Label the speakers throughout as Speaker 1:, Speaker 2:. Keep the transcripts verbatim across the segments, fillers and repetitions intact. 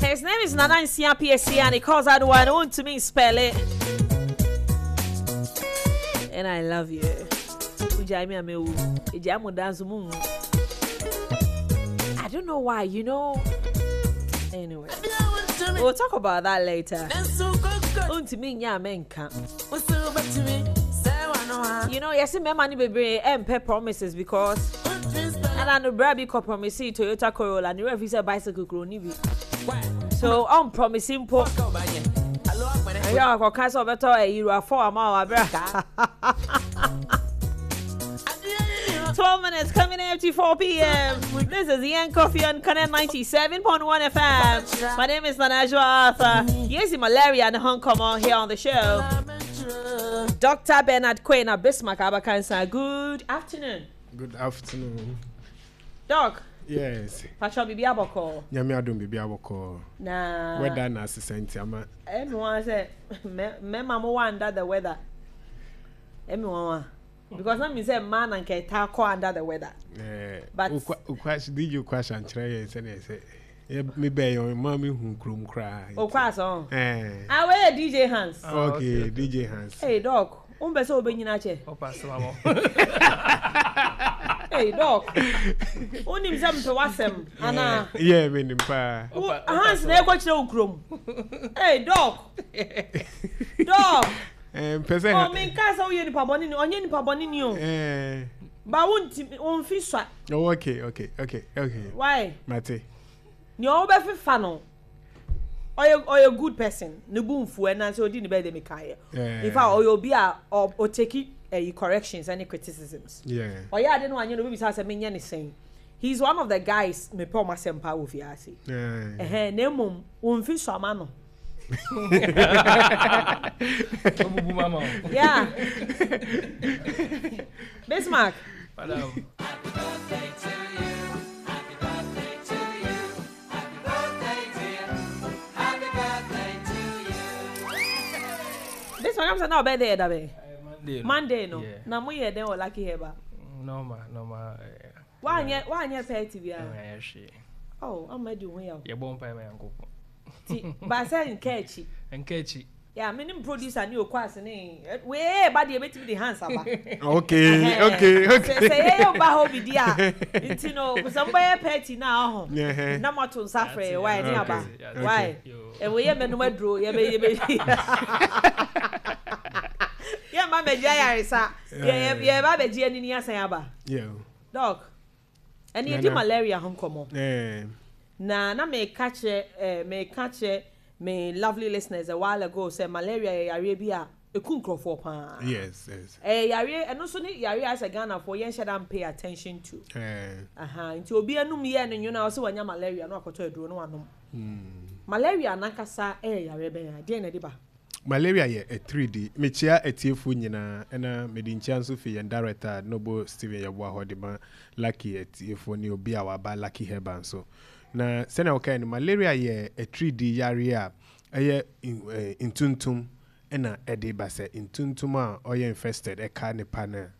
Speaker 1: His name is Nana Nsia P S C and he calls out one to spell it. And I love you. Ujai me amewu. Ejai mo dance mu. I don't know why, you know. Anyway, we'll talk about that later. Untimi nya menka. You know, yes, me money bebree ɛmpɛ promises because and no bra bi kɔ promise Toyota Corolla ne refi sɛ bicycle kuro ni bi. So on promise mpo. Ɛyɛ akɔka sɛ ɔbɛtɔ ɛyi RAV four ama wa bra. twelve minutes coming up to four p m. This is Ian Coffee on Connect ninety-seven point one F M. My name is Nanajua Arthur. Yes, malaria and Hong Kong here on the show. Doctor Bernard Quain Bismarck Abakansa. Good afternoon.
Speaker 2: Good afternoon.
Speaker 1: Doc.
Speaker 2: Yes.
Speaker 1: Pacho, bibi abɔkɔ?
Speaker 2: Nyame adom, bibi abɔkɔ.
Speaker 1: Na
Speaker 2: weather na asesa nti ama.
Speaker 1: Ɛmi wɔn sɛ mɛma mo wa under the weather. Ɛmi wɔn wa. Because na mi sɛ mmaa na nka ɛta kɔ under the weather.
Speaker 2: Eh, but ukwa D J Ukwa nkyerɛ yɛn sɛ ne sɛ me bɛn yɛn maa mi hu kurom koraa.
Speaker 1: Okwa asɔn. Eh. Ah, wei yɛ D J Hans.
Speaker 2: Oh, okay, D J Hans.
Speaker 1: Hey Doc, n bɛ sɛ o bɛ nyina kyɛ.
Speaker 3: Ɔpa sɛ wa
Speaker 1: Hey Doc, wonim sɛ mpɛ w'asɛm anaa?
Speaker 2: Yeah, mi nim paa.
Speaker 1: Hans na ɛkɔ kyerɛ wo kurom. Hey Doc, Doc.
Speaker 2: Mpɛ sɛ.
Speaker 1: Ɔ mi nka sɛ woyɛ nipa bɔne ni, ɔnyɛ nipa bɔne ni o. Ba wo nti wo nfi sua.
Speaker 2: Oh, okay okay okay okay.
Speaker 1: Why?
Speaker 2: Mate.
Speaker 1: Nea ɔbɛfefa no, ɔyɛ ɔyɛ good person, ne bu nfu ɛna sɛ odi ne bɛyɛ de mi ka yɛ. In fact, ɔyɛ obi a ɔ ɔtake ɛyi corrections ɛne criticisms.
Speaker 2: Yeah.
Speaker 1: Ɔyɛ ade no anyɛ no, obi bisa sɛ menyɛ ne sɛn. He is one of the guys mepɛ ɔmo asɛm paa wɔ fiase. Ɛhɛn, na emom wɔn fi so ama no.
Speaker 3: Obubu mama o.
Speaker 1: Yeah. Bismarck.
Speaker 3: Madam.
Speaker 4: Happy birthday to you. Happy birthday to you. Happy birthday, dear. Happy birthday to you.
Speaker 1: Bismarck, I'm saying now birthday da bɛ.
Speaker 3: Monday no.
Speaker 1: Monday no.
Speaker 3: Yeah.
Speaker 1: Na mo yɛ den wɔ Lucky Herbal?
Speaker 3: Normal, normal. eh,
Speaker 1: Wanyɛ wanyɛ party bia?
Speaker 3: Ɛnyɛ hwee.
Speaker 1: Oh, ama di ho yaw.
Speaker 3: Yɛbɔ mpae ma Nyankopɔn.
Speaker 1: Ti ba sɛ nka akyi.
Speaker 3: Nka akyi.
Speaker 1: Yeah, me ne producer ne okɔ ase ne wee ba deɛ ebetumi de hands aba.
Speaker 2: Okay okay okay.
Speaker 1: Sɛ sɛ yɛyɛ ɔba hɔ bi di a, nti no sɛ mbɛyɛ party na ɔho
Speaker 2: Yeah.
Speaker 1: na mo ato nsa frɛ why ne aba.
Speaker 3: Okay.
Speaker 1: Why?
Speaker 3: Yo.
Speaker 1: Ɛwɔ yɛ mɛnum aduro yɛbɛ yɛbɛ yɛ mma mɛgye ayaresa, yɛ yɛ ba bɛgye anini asan aba.
Speaker 2: Yeah.
Speaker 1: Doc, ɛni yɛdi
Speaker 2: Nana.
Speaker 1: malaria ho nkɔmɔ.
Speaker 2: Eh.
Speaker 1: Na na meka kyerɛ ɛɛ meka kyerɛ me lovely listeners a while ago sɛ malaria yɛ yareɛ bi a eku nkurɔfoɔ paa.
Speaker 2: Yes yes.
Speaker 1: Ɛyɛ yareɛ, ɛno nso ne yareɛ a sɛ Ghanafoɔ yɛn hyɛ da pay attention to.
Speaker 2: Eh.
Speaker 1: Aha, nti obi anum yɛ no nwona ɔsɛ wanya malaria na wakɔtɔ aduro na wanom. Malaria nankasa ɛyɛ yareɛ bɛn a deɛn na ɛde ba?
Speaker 2: Malaria yɛ atiridii. Mekyia atiefoɔ nyinaa, ɛna mede nkyia nso fi yɛn director Nobo Steven Yɛboa hɔ de ma Lucky atiefoɔ ne obi a waba Lucky Herbal nso. Na sɛnea wɔkae no, malaria yɛ atiridii yareɛ a ɛyɛ eh, ntuntum ɛna ɛde ba, sɛ ntuntum a ɔyɛ infested ɛka nipa no a,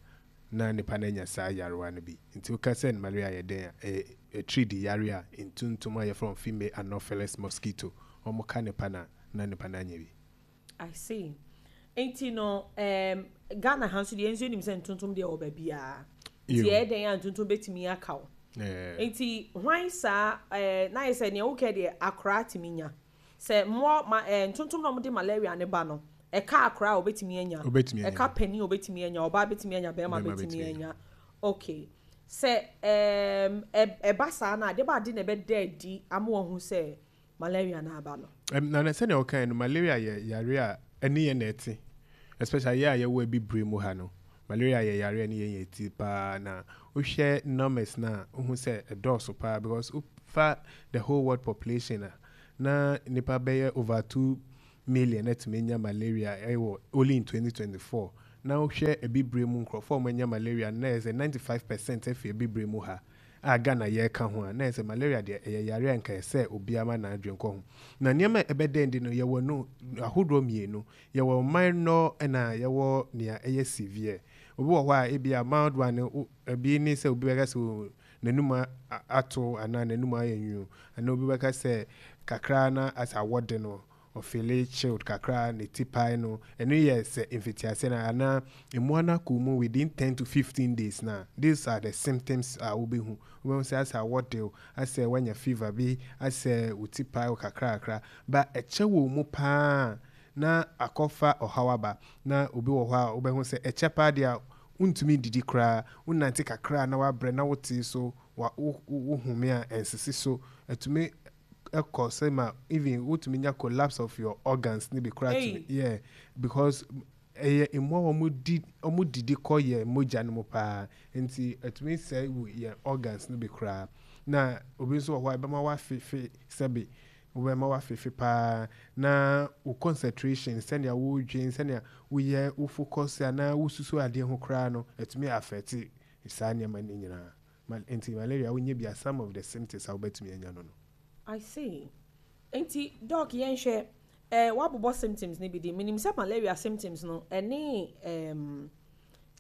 Speaker 2: na nipa no anya saa yarewa no bi. Nti woka sɛ malaria yɛ den a, ɛyɛ atiridii yareɛ a ntuntum a yɛfrɛ wɔn female Anopheles mosquito wɔn ka nipa no a, na nipa no anya bi.
Speaker 1: I see. Nti no um, Ghana ha nso deɛ, nso nim sɛ ntontom deɛ wɔ baabiara, nti
Speaker 2: Yo.
Speaker 1: ɛyɛ den a ntontom bɛtumi aka wo.
Speaker 2: Eh,
Speaker 1: Nti hwan saa ɛɛ na yɛ sɛ nea wokɛ deɛ, akora tumi nya sɛ mmoa ma ɛɛ ntontom na wɔde malaria ne ba no, ɛka akora a, obetumi anya?
Speaker 2: Obetumi anya.
Speaker 1: Ɛka panin a, obetumi anya. Ɔbaa betumi anya, bɛrima
Speaker 2: Bɛrima
Speaker 1: betumi
Speaker 2: betumi
Speaker 1: anya. Okay, sɛ ɛɛm ɛ ɛba saa na ade ba ade na ɛbɛda adi ama wɔn ho sɛ malaria na aba no?
Speaker 2: Um, na na sɛnea wɔkae no, malaria yɛ yare a ɛne yɛn na ɛte, especially yɛ a yɛwɔ abibire mu ha no. Malaria yɛ yare a ɛne yɛn yɛ ti paa, na wohwɛ numbers na wohu sɛ ɛdɔɔso paa, because wofa the whole world population a, na nipa bɛyɛ over two million ɛtumi nya malaria ɛwɔ only in twenty twenty-four. Na wohwɛ abibire mu nkurɔfoɔ a wɔanya malaria no, na yɛ sɛ ninety-five percent afi abibire mu ha a Ghana yɛreka ho a, na yɛ sɛ malaria deɛ, ɛyɛ yare a nka ɛsɛ obiara ma n'adwene kɔ ho. Na nneɛma a ɛbɛdɛn di no, yɛwɔ no ahodoɔ mmienu: yɛwɔ minor ɛna yɛwɔ nea ɛyɛ severe. Obi wɔ hɔ a, ebi a mild one no, ebi ne sɛ obi bɛka sɛ o N'anum a- ato anaa n'anum ayɛ nwunu, anaa obi bɛka sɛ kakra na asɛ awɔde no, ɔfeel chilled kakra, ne ti pae no. Ɛno yɛ sɛ mfitiase no anaa mmoa no akɔ mu within ten to fifteen days. Na these are the symptoms a wobɛhu. Wobɛhu sɛ asɛ awɔde wo, asɛ woanya fever bi, asɛ wo ti pae wo kakra kakra ba. Ɛkyɛ wɔ mu paa na akɔfa ɔhaw aba. Na obi wɔ hɔ a wobɛhu sɛ ɛkyɛ paa deɛ a, wontumi didi koraa, wonante kakra na wabrɛ, na wote so wa wo wo home a ɛnsisi so. Ɛtumi ɛkɔ sɛ ma even wotumi nya collapse of your organs ne bi koraa.
Speaker 1: Hey.
Speaker 2: Tumi, yeah, because ɛyɛ mmoa a wɔn di, wɔn didi kɔ yɛ mogya no mu paa, nti ɛtumi sɛe wo yɛn organs no bi koraa. Na obi nso wɔ hɔ a, ɛbɛma wafefe, sɛbi, wobɛma wafefe paa, na wo concentration, sɛnea wodwen, sɛnea woyɛ wo focus anaa wosusu adeɛ ho koraa no, ɛtumi affect saa nneɛma no nyinaa. Ma- nti malaria, wonyɛ bi a, some of the symptoms a wobɛtumi anya no no
Speaker 1: I see. Nti doc, yɛnhwɛ, eh, wabobɔ symptoms ne bi di. Menim sɛ malaria symptoms no ɛne um,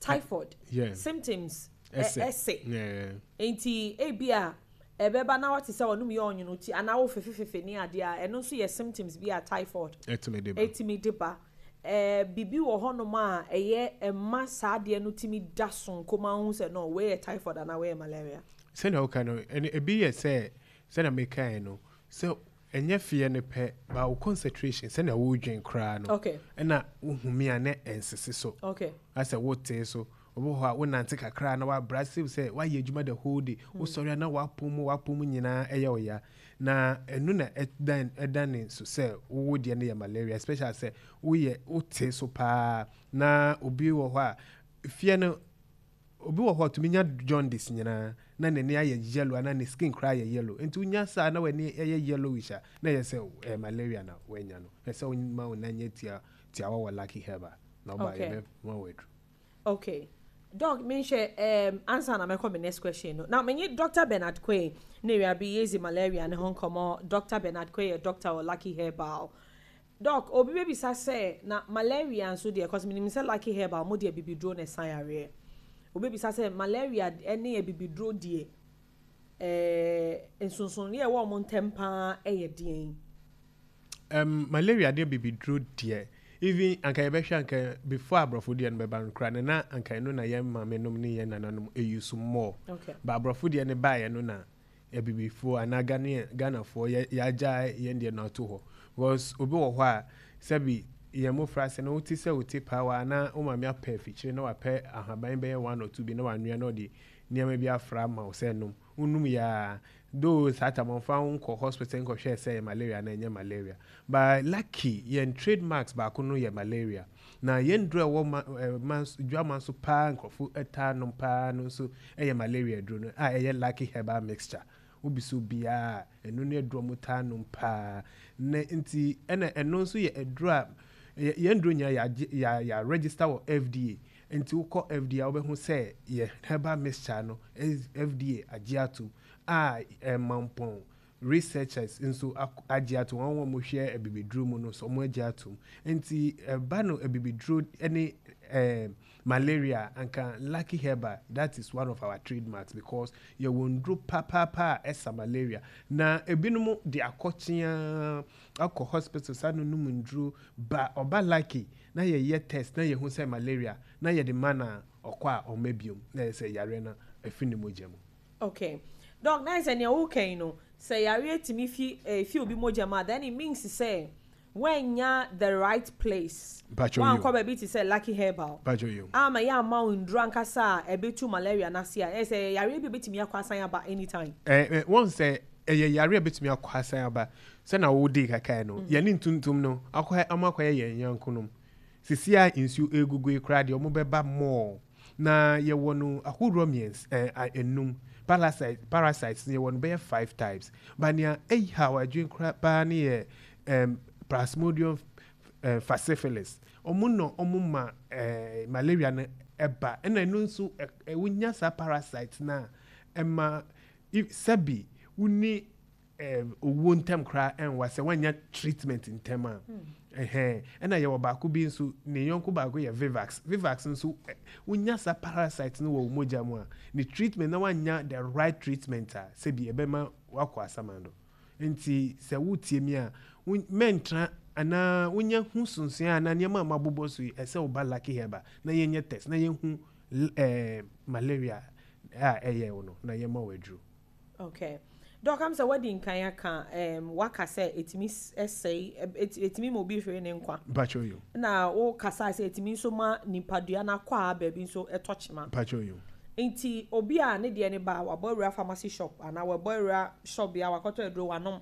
Speaker 1: typhoid
Speaker 2: Yeah.
Speaker 1: symptoms ɛ-
Speaker 2: ɛsɛ.
Speaker 1: Ɛsɛ.
Speaker 2: Yeah.
Speaker 1: Nti ebi a ɛbɛba na wate sɛ ɔnom yɛ ɔnwono ti anaa wo fefefefe ne adeɛ a, ɛno nso yɛ symptoms bi a typhoid
Speaker 2: ɛtumi de ba.
Speaker 1: ɛtumi de ba. Ɛɛ bibi wɔ hɔnom a ɛyɛ ɛma saa adeɛ no tumi da so nkoma ho sɛ no, wei yɛ typhoid anaa wei yɛ malaria?
Speaker 2: Sɛnea woka no, ɛne ebi yɛ sɛ sɛnea mekaeɛ no, sɛ ɛnyɛ feɛ no pɛ ba, wo concentration, sɛnea wodwen koraa no,
Speaker 1: okay
Speaker 2: ɛna wohumi a ne ɛnsese so,
Speaker 1: okay
Speaker 2: asɛ wotee so. Obi wɔ hɔ a, wonante kakra na wabra sew sɛ woayɛ adwuma the whole day, wosɔre a na woapɔ mu, woapɔ mu nyinaa ɛyɛ wo ya. Na ɛno na ɛdan ɛda ne so sɛ wowo deɛ no yɛ malaria, especially sɛ woyɛ wote so paa. Na obi wɔ hɔ a, fie no, obi wɔ hɔ a tumi nya jaundice nyinaa na n'ani ayɛ yellow anaa ne skin koraa ayɛ yellow. Nti wonya saa na w'ani ɛyɛ yellowish a, na ɛyɛ sɛ ɛyɛ malaria na woanya no. Ɛsɛ woma wo nan nyɛ tia tiawa wɔ Lucky Herbal na ɔba,
Speaker 1: Okay.
Speaker 2: yɛbɛma wo aduru.
Speaker 1: Okay doc, menhwɛ um, ansa na mɛkɔ me next question no, na menye Doctor Bernard Quaye na ewiabe yɛzi malaria ne ho nkɔmmɔ. Doctor Bernard Quaye yɛ doctor wɔ Lucky Herbal. Doc, obi bɛbisa sɛ na malaria nso deɛ, cause menim sɛ Lucky Herbal mo deɛ, bibiduro na ɛsan yareɛ. Obi bisa sɛ malaria ne bibiduro deɛ, ɛɛ nsonsonoeɛ a ɛwɔ ɔmo ntɛm paa ɛyɛ deɛn?
Speaker 2: um, malaria deɛ, bibiduro deɛ, even anka yɛbɛhwɛ anka before aborɔfo deɛ no bɛba no koraa no, na anka ɛno na yɛn maame nom ne yɛn nananom ɛyi so more.
Speaker 1: Okay
Speaker 2: ba aborɔfo deɛ no baeɛ no, na abibifoɔ anaa Ghana Ghanafoɔ yɛ yɛagya yɛn deɛ no ato hɔ, because obi wɔ hɔ a, sɛbi, yɛn mmɔfra ase no, wote sɛ wote paawa anaa wo maame apɛ afikyire na wapɛ ahaban bɛyɛ one or two bi na wanoa na ɔde nneɛma bi afra ama wo sɛ nom, wonum yaa though saa tam ɔmfa wo nkɔ hospital nkɔhwɛ sɛ ɛyɛ malaria na ɛnyɛ malaria. But Lucky, yɛn trademarks baako no yɛ malaria, na yɛn duro a ɛwɔ ma ɛɛ ma dwama so paa, nkurɔfo ɛtaa nom paa no nso ɛyɛ malaria duro no a ɛyɛ Lucky Herbal Mixture. Wobi so biara, ɛno ne aduro a wɔn taa nom paa. Na nti ɛna ɛno nso yɛ aduro a yɛ- yɛn duro nyinaa yɛagye yɛ yɛ register wɔ F D A. Nti wokɔ F D A a, wobɛhu sɛ yɛ herbal mixture no S- F D A agye atom a ɛmampɔn researchers nso ak- agye atom. Wɔn a wɔhwɛ abibiduro mu no nso, wɔn agye atom. Nti ɛba no abibiduro ne ɛɛ malaria, anka Lucky Herbal, that is one of our trademarks, because yɛwɔ nduro papaapa a ɛsa malaria. Na ebinom de akɔkyea akɔ hospital saa no nom nduro ba, ɔba Lucky na yɛyɛ test na yɛhu sɛ malaria na yɛde ma na ɔkɔ a, ɔma biom na yɛ sɛ yareɛ no ɛfi ne mogya mu.
Speaker 1: Okay doc, na sɛ nea wokan no sɛ yareɛ tumi fi eh, fi obi mogya mu a, then it means sɛ woanya the right place,
Speaker 2: Mpatwa.
Speaker 1: wankɔ baabi te sɛ Lucky Herbal
Speaker 2: Mpatwa yo.
Speaker 1: ama yɛ ama wo nduro ankasa a ɛbɛtu malaria n'ase a, ɛyɛ sɛ yareɛ bi bɛtumi akɔ asan aba anytime.
Speaker 2: ɛɛ ɛ wɔn sɛ ɛyɛ yare a bɛtumi akɔ asan aba. Sɛna wodi kakae no, yɛne ntuntum no akɔ, ɔmo akɔyɛ yɛn yankonom sisi a nsuo egugu yi koraa deɛ, ɔmo bɛba mɔɔ. Na yɛwɔ no ahodoɔ mmiɛnsa, ɛɛ a- enum. parasite parasites no, yɛwɔ no bɛyɛ five types, but nea ɛyi ha wadwin koraa paa ne yɛ ɛɛm Plasmodium ɛɛ falciparum. Ɔmo na ɔmo ma ɛɛ malaria no ɛba. Ɛna ɛno nso ɛ ɛ wonya saa parasite na ɛma if sɛbi wuni ɛɛ owuo ntɛm koraa ɛnwa sɛ wanya treatment ntɛm a. Ɛhɛn, ɛna yɛwɔ baako bi nso, ne yɔnko baako yɛ vivax. Vivax nso, ɛ, wonya saa parasite no wɔ wo mogya mu a, ne treatment na wanya the right treatment a, sɛbi, ɛbɛma wakɔ asamando. Nti sɛ wotie mi a, wo- mɛntra anaa wonya hu sunsun anaa nneɛma a mabobɔ so yi, ɛsɛ woba Lucky Herba na yɛnyɛ test na yɛhu l- ɛɛ malaria a ɛyɛ wo no na yɛma wo aduro.
Speaker 1: Okay, Doc, am sɛ wadi nkan aka um, waka sɛ ɛtumi s- ɛsɛe, ɛ- ɛt- ɛtumi ma obi hwere ne nkwa.
Speaker 2: Mpatwa yo.
Speaker 1: Na wokasa sɛ ɛtumi nso ma nipadua no akɔ a baabi nso ɛtɔ kyema.
Speaker 2: Mpatwa yo.
Speaker 1: Nti obi a ne deɛ ne ba, wabɔ awura pharmacy shop anaa wabɔ awura shop bi a wakɔtɔ aduro wanom,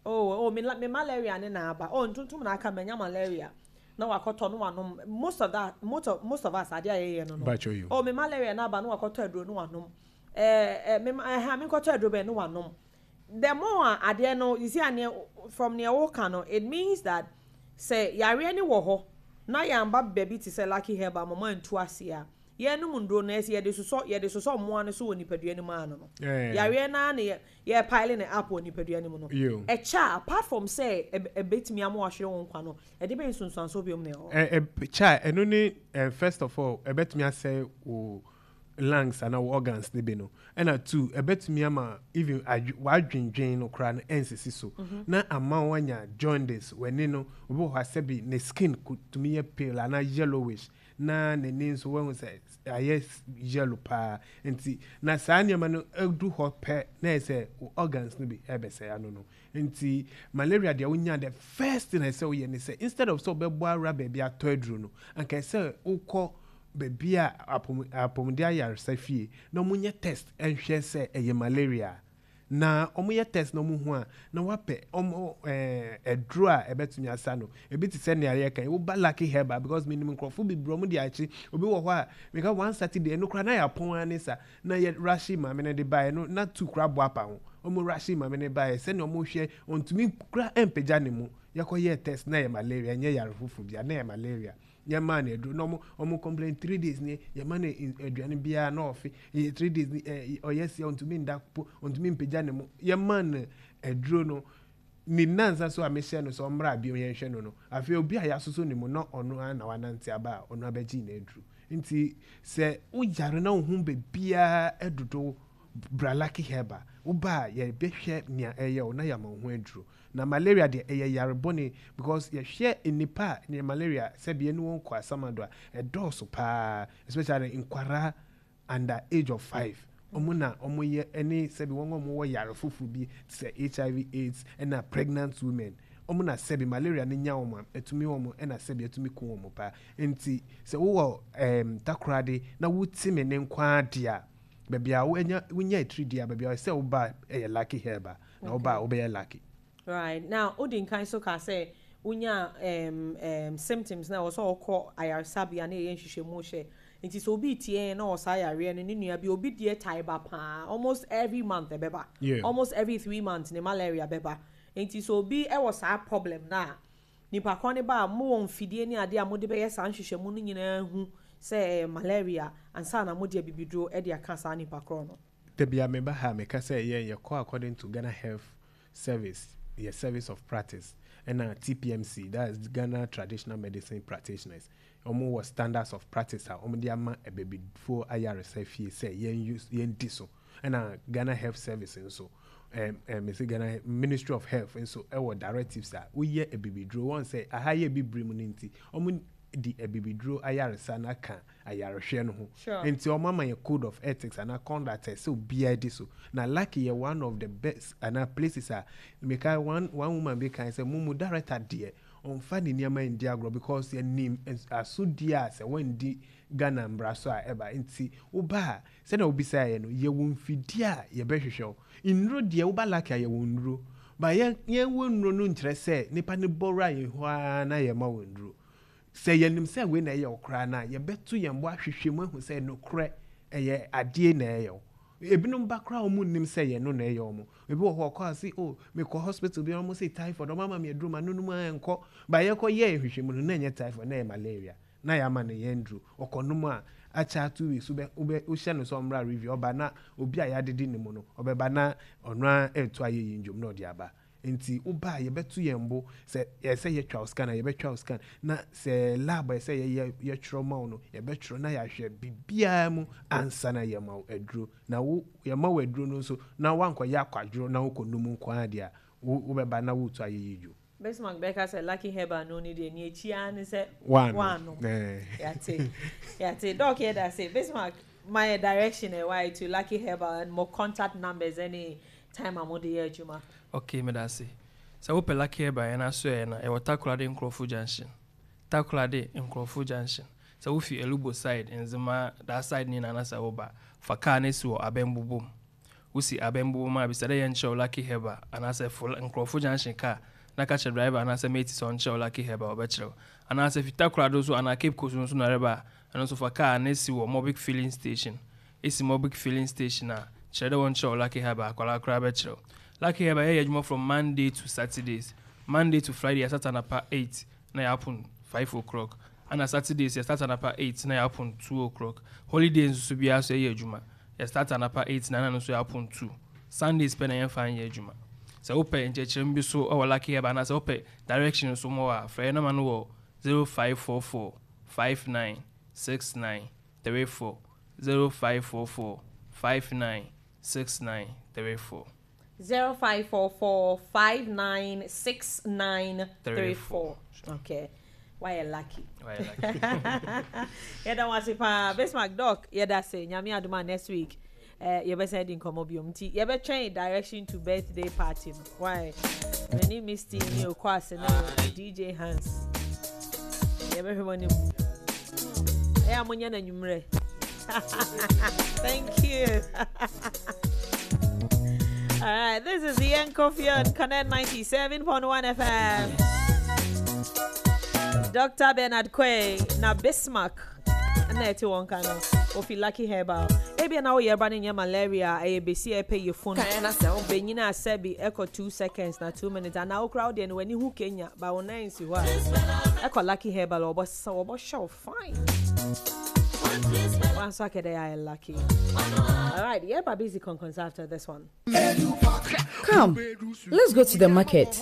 Speaker 1: oh oh me, la- me malaria ne na aba, oh, ntontom na aka, manya malaria, na wakɔtɔ no wanom. Most of that, most of, most of us, adeɛ a yɛyɛ no no
Speaker 2: Mpatwa yo.
Speaker 1: Oh, me malaria na aba, na wakɔtɔ aduro no wanom, ɛɛ ɛ me ɛha, me nkɔtɔ aduro bɛn no wanom. The more a adeɛ no, you see, aneɛ from nea wɔka no, it means that sɛ yareɛ ne wɔ hɔ na yɛamba baabi te sɛ Lucky Herb mama ntu ase a, yɛnom nduro no, ɛsɛ yɛde sosɔ yɛde sosɔ mmoa no so wɔ nipadua no mu ano no,
Speaker 2: Eh.
Speaker 1: yareɛ naa ne yɛ yɛ pile ne up wɔ nipadua no mu no.
Speaker 2: Yo.
Speaker 1: Ɛkyɛ a, apart from sɛ ɛb- ɛbɛtumi ama wahwere wo nkwa no, ɛde bɛyɛ nsonsanso biom na ɛwɔ?
Speaker 2: ɛ ɛ kya, ɛno ne ɛ first of all, ɛbɛtumi asɛe wo lungs anaa wo organs ne bi no. Ɛna two, ɛbɛtumi ama even adw wadwendwen no koraa no ɛnsisi so na ama wanya jaundice. W'ani no, obi wɔ hɔ asɛbi ne skin ko tumi yɛ pale anaa yellowish, na n'ani nso wɔn sɛ ayɛ s- yellow paa. Nti na saa nneɛma no edu hɔ pɛ na yɛ sɛ wo organs no bi ɛbɛsɛe ano no. Nti malaria deɛ, wonya, the first thing ɛsɛ woyɛ ne sɛ, instead of sɛ wobɛbɔ awura baabi atɔ aduro no, anka ɛsɛ wokɔ baabi a apɔm apɔmuden ayaresa fie na wɔnyɛ test ɛnhwɛ sɛ ɛyɛ malaria. Na wɔyɛ test na wɔn ho a, na wapɛ wɔn ɛɛ aduro a ɛbɛtumi asa no. Ebi te sɛ nea yɛka yi, woba Lucky Herba, because minim nkurɔfo bebree, wɔn de akyi. Obi wɔ hɔ a meka one Saturday, ɛno koraa na yɛ apɔn ani sa na yɛ rashi maame no de baeɛ no, na two koraa bɔ apa ho. Wɔn rashi maame no baeɛ sɛnea wɔn hwɛ, ɔntumi koraa ɛmpagya ne mu. Yɛkɔ yɛ test na yɛ malaria, ɛnyɛ yare foforɔ bia, na yɛ malaria. Yɛmaa no aduro na ɔmo ɔmo complain three days ni. Yɛma no in- aduane biara na ɔfe yɛ three days ni. Ɛ ɔyɛ sia, ɔntumi nda po, ɔntumi mpagya ne mu. Yɛmaa no aduro no ne nansa so a mehyɛ no sɛ ɔmmra bio yɛnhwɛ no no Afei obi a yɛasoso ne mu na ɔno ara na wanante aba a ɔno abɛgye n'aduro. Nti sɛ woyare na wo ho baabiara ɛdodo, bra Lucky Herba. Woba a, yɛbɛhwɛ nea ɛyɛ wo na yɛama wo ho aduro. Na malaria deɛ, ɛyɛ yare bɔne, because yɛhwɛ nnipa a ne malaria sɛbi ɛne wɔn kɔ asamado a, ɛdɔɔso paa, especially nkwaraa under age of five. Ɔmo na ɔmo yɛ ɛne sɛbi wɔn a ɔmo wɔ yare foforɔ bi te sɛ H I V AIDS ɛna pregnant women. Ɔmo na sɛbi malaria ne nya wɔn a, ɛtumi wɔn, ɛna sɛbi ɛtumi ku wɔn paa. Nti sɛ wowɔ ɛɛm Takoradi na wote me ne nkwa adeɛ a, baabi a wonya wonya etiri deɛ a, baabi a sɛ woba ɛyɛ Lucky Herba, na woba a, wobɛyɛ lucky.
Speaker 1: Right now, wodi nkan so ka sɛ wonya um, um, symptoms na ɛwɔ sɛ ɔkɔ ayaresabea na ɛyɛ nhwehwɛmu hyɛ. Nti sɛ obi tie na ɔsaa yareɛ no, ne nua bi, obi deɛ tae ba paa, almost every month ɛbɛba,
Speaker 2: Yeah.
Speaker 1: almost every three months ne malaria bɛba. Nti sɛ obi ɛwɔ saa problem na nipa kɔ ne ba a, mowɔ mfidie ne adeɛ a mode bɛyɛ saa nhwehwɛmu no nyinaa hu sɛ ɛyɛ malaria ansa na mode abibiduro de aka saa nipa korɔ no?
Speaker 2: Dabi a meba ha, meka sɛ yɛn yɛkɔ according to Ghana Health Service, yɛ service of practice, ɛna T P M C, that is Ghana Traditional Medicine Practitioners, ɔmo wɔ standards of practice a ɔmo de ama abibifoɔ ayaresa fie sɛ yɛn use, yɛn di so. Ɛna Ghana Health Service nso, ɛm ɛm mesi Ghana Ministry of Health nso ɛwɔ directives a woyɛ abibiduro. Wɔn sɛ aha yɛ bibire mu no, nti ɔmo di abibiduro ayaresa na aka ayarehwɛ no ho.
Speaker 1: Sure.
Speaker 2: Nti ɔmo ama yɛ code of ethics anaa conduct sɛ obiara di so. Na Lucky yɛ one of the best anaa places a meka. one one woman bi kan sɛ mo mu director deɛ, ɔnfa ne nneɛma ndi agorɔ, because yɛnim asodie a sɛ wɔndi Ghana mbra so a ɛba. Nti woba a, sɛdeɛ wobisa yɛ no, yɛwɔ mfidie a yɛbɛhwehwɛ wo. Nnuro deɛ, woba Lucky a, yɛwɔ nnuro ba. Yɛn yɛwɔ nnuro no nkyerɛ sɛ nipa ne bɔwura yɛn hɔ ara na yɛma wɔ nnuro. Sɛ yɛnim sɛ wei na ɛyɛ wo koraa no a, yɛbɛto yɛn bo ahwehwɛ mu ahu sɛ nokorɛ ɛyɛ adeɛ na ɛyɛ wo. Ebinom ba koraa, wɔn nim sɛ yɛn no na ɛyɛ wɔn. Ebi wɔ hɔ, ɔkɔ ase, "O, mekɔ hospital bi, wɔn sɛ typhoid, wɔn ama mi aduro ma nonum a nkɔ ba." Yɛkɔ yɛ nhwehwɛ mu no, na ɛnyɛ typhoid, na ɛyɛ malaria, na yɛ ama no yɛn duro. Ɔkɔ nom a, Akyɛ two weeks, wobɛ wobɛ wohyɛ no sɛ ɔmmra review, ɔba na obi a yɛadede ne mu no, ɔbɛba na ɔno a ɛɛto ayɛ yi ndwom na ɔde aba. Nti woba a, yɛbɛto yɛn bo sɛ ɛsɛ yɛtwa wo scan a, yɛbɛtwa wo scan, na sɛ lab a ɛsɛ yɛyɛ, yɛtwerɛ ma wo no, yɛbɛtwerɛ na yɛahwɛ biribiara mu ansa na yɛma wo aduro. Na wo yɛma wo aduro no nso na woankɔyɛ akwadworɔ na wokɔnum nko ara deɛ a, wo wobɛba na woretu ayɛ yi dwom.
Speaker 1: Bismarck bɛka sɛ Lucky Herbal no ne deɛ ne akyi ara ne sɛ
Speaker 2: Wano.
Speaker 1: Wano.
Speaker 2: Eh.
Speaker 1: Yate, yate. Doc, yɛda se. Bismarck, my direction ɛwɔ to Lucky Herbal and more contact numbers, any time a mode yɛ adwuma.
Speaker 3: Okay, meda ase. Sɛ wopɛ Lucky Herbal yɛn aso yɛ na ɛwɔ Takoradi Nkurɔfo Junction. Takoradi Nkurɔfo Junction, sɛ wofi Elubo side, Nzema that side ne nana, sɛ woba fa car no si wɔ Abɛnbobom, wosi Abɛnbobom a, bisa dɛ yɛnkyerɛw Lucky Herbal anaasɛ fo Nkurɔfo Junction car na ka kyerɛ driver anaasɛ mate sɛ ɔnkyerɛw Lucky Herbal, ɔbɛkyerɛw. Anaasɛ fi Takoradi so anaa Cape Coast nso na ɛreba a, ɛno nso fa car no si wɔ Mobic Filling Station. Esi Mobic Filling Station a, kyerɛ dɛ wɔnkyerɛw Lucky Herbal, akwaraa koraa bɛkyerɛw Lucky Herbal. Yɛyɛ adwuma from Monday to Saturdays. Monday to Friday, yɛstart anapa eight na yɛapon five o'clock, ana Saturdays yɛstart anapa eight na yɛapon two o'clock. Holidays nso so biara so yɛyɛ adwuma. Yɛstart anapa eight na ɛna no nso yɛapon two. Sundays pɛ na yɛmfa nyɛ adwuma. Sɛ wopɛ nkyerɛkyerɛmu bi so wɔ Lucky Herbal anaasɛ wopɛ direction nso mɔ a, frɛ yɛn nama no wɔ zero five four four five nine six nine three four, zero five four four five nine six nine three four.
Speaker 1: Zero five four four five nine six nine three four. Okay. Why you lucky?
Speaker 3: Why lucky?
Speaker 1: Yɛda wo ase paa, Bismarck. Doc, yɛda se. Nyame adom a, next week eh, yɛbɛsan di nkɔmmɔ biom, nti yɛbɛtwɛn direction to birthday party no. Why mene Misty ne okɔ ase ne D J Hans, yɛbɛhwɛ mo anim. Ɛyɛ a monyɛ no anwummerɛ. Thank you. All right, this is Ian Coffee on Connect ninety-seven point one F M. Doctor Bernard Quay na Bismarck na ɛte wɔn ka no ofi Lucky Herbal. Ebia na woyɛ ba no nyɛ malaria, ɛyɛ besi ɛpɛ yɛ phone bɛnyina asɛbi ɛkɔ two seconds na two minutes anaa wokora wodeɛ no w'ani hu Kenya ba wo nan si hɔ a, ɛkɔ Lucky Herbal, wɔbɔ sa, wɔbɔ hyɛ fine. Wanso akɛdɛ ayɛ lucky. All right, yɛba busy conference after this one.
Speaker 5: Come, let's go to the market.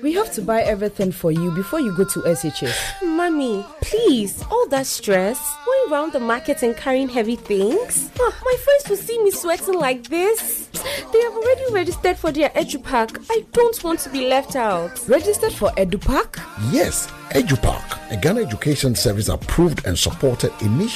Speaker 5: We have to buy everything for you before you go to S H S.
Speaker 6: Mommy, please, all that stress, going round the market and carrying heavy things. Ah, my friends will see me sweating like this. They have already registered for their EduPack. I don't want to be left out.
Speaker 5: Registered for EduPack?
Speaker 7: Yes, EduPack, a Ghana Education Service approved and supported initiative.